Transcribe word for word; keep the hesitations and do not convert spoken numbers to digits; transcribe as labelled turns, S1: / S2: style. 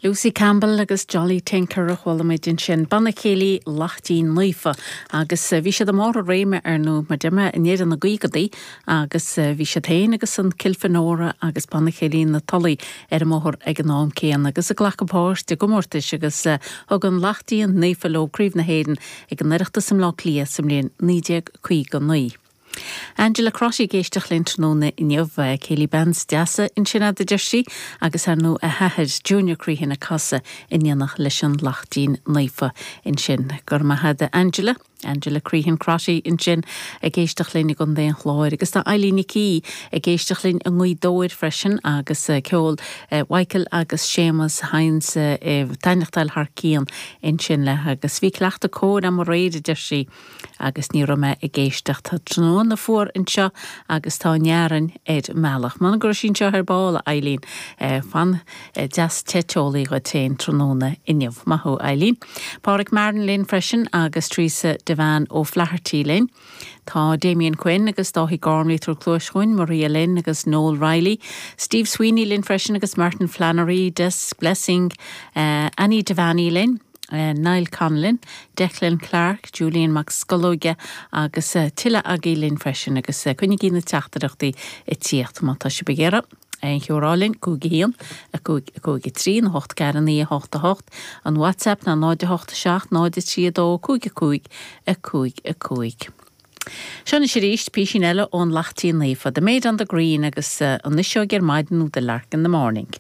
S1: Lucy Campbell agus Jolly Tinker a chuala muid ansin banna céilí Laichtín Naofa agus eh, bhí siad i mbarr a réime ar ndóigh mar deir mé i ndeireadh na gcaogaidí agus eh, bhí siad féin agus an Kilfenora agus banna céilí na Tulaí ar an mbóthar ag an am céanna agus ag glacadh páirt i gcomórtais agus eh, thug an Laichtín Naofa leo Craobh na hÉireann ag an Oireachtas i mBleá Cliath sa mbliain naoi déag caoga naoi. Angela Crotty ag éisteacht linn tráthnóna inniu céilí bands deasa ansin a deir sí agus ar ndóigh a hathair Junior Crehan ag casadh in éineacht leis an Laichtín Naofa ansin go raibh maith agat Angela. Angela Crehan Crotty ansin ag éisteacht linn i gContae an Chláir agus tá Eileen Nic ag éisteacht linn i nGaoth Dobhair freisin agus eh, ceol eh, Michael agus Séamus Heinz eh, taitneachtáil thar cionn ansin le agus bhí cleachtadh cóir agam aréir a deir sí agus ní raibh mé ag éisteacht tráthnóna fuar anseo agus tá nearan ar meach. Man gur sin seo ar ball Eileen fan deas te teolaí go téin tráthnóna inniu maith thú Eileen. Pádraig Marin linn freisin agus Teresa Devan ó Flaherty linn. Tá Damien Quinn agus Dáithí Gormley tar cluaischuin Maria Lynn agus Noel Riley, Steve Sweeney linn freisin agus Martin Flannery, Des Blessing, uh, Annie Devaney linn. Uh, Niall Conlin, Declan Clark, Julian MacScolóige agus uh, tuilleadh agaibh linn freisin agus uh, coinnígí na teachtaireachtaí ag tíocht má tá sibh ag iarraidh. Aon cheol a rá linn cúig a haon a cúig a cúig a trí na hocht ceathair naoi a hocht a hocht an WhatsApp ná náid a hocht a seacht náid a trí a dó cúig a cúig a cúig a cúig. Seo anois arís píosa eile ón Laichtín Naofa, The Maid on the Green agus uh, an fhuinseog ar maidin nó The Lark in the Morning.